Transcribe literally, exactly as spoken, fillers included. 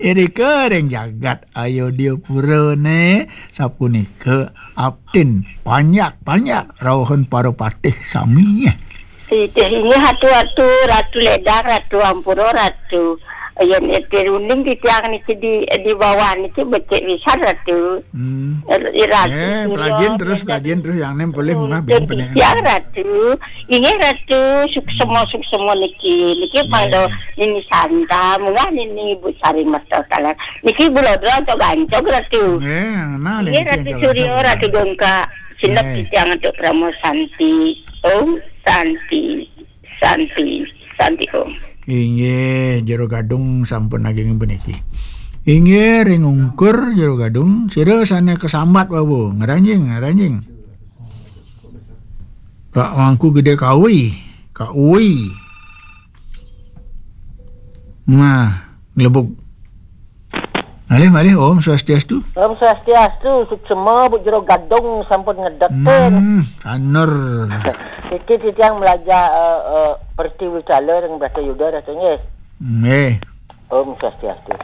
Irika ring jagat Ayodya Pura né, sapunika abdin panjak-panjak rauhun para patih sami. Titih inggih Ratu, Ratu, Ratu Ledang, Ratu Ampura, Ratu. Yén ete runding titiang niki di, di bawah niki becik pisan, Ratu. Hmm. Ratu Eh, Surya, pelajin terus, Ratu pelajin terus, yang nem boleh mungah. Ratu bing pening. Titiang, Ratu. Inggih, Ratu, suksema, suksema niki. Niki mangda Nini Santa, mungah Nini Ibu Sari Mata Talar. Niki Ibu Lodra Ancog-ancog, Ratu. Nggih, nah, Inggih, niki Ratu Surya, ancog-ancog. Ratu Dongka. Sinep titiang antuk Parama Santi. Om Santi. Santi. Santi Om. Inggih, Jero Gadung sampun ageng puniki. Inggih, ring ungkur Jero Gadung, sira sané kasambat wau. Ngranjing, ngranjing. Kak Mangku Gedé Kawi, Kak Uwi. Nah, nglebug. Malih, malih, Om Swastiastu. Om Swastiastu, suksema Bu Jero Gadung sampun ngedekin. Hmm, sanur. Niki titiang melajah, eh, eh, Pertiwi Cala ring Bratayuda, Ratu, nggih. Nggih. Om Swastiastu.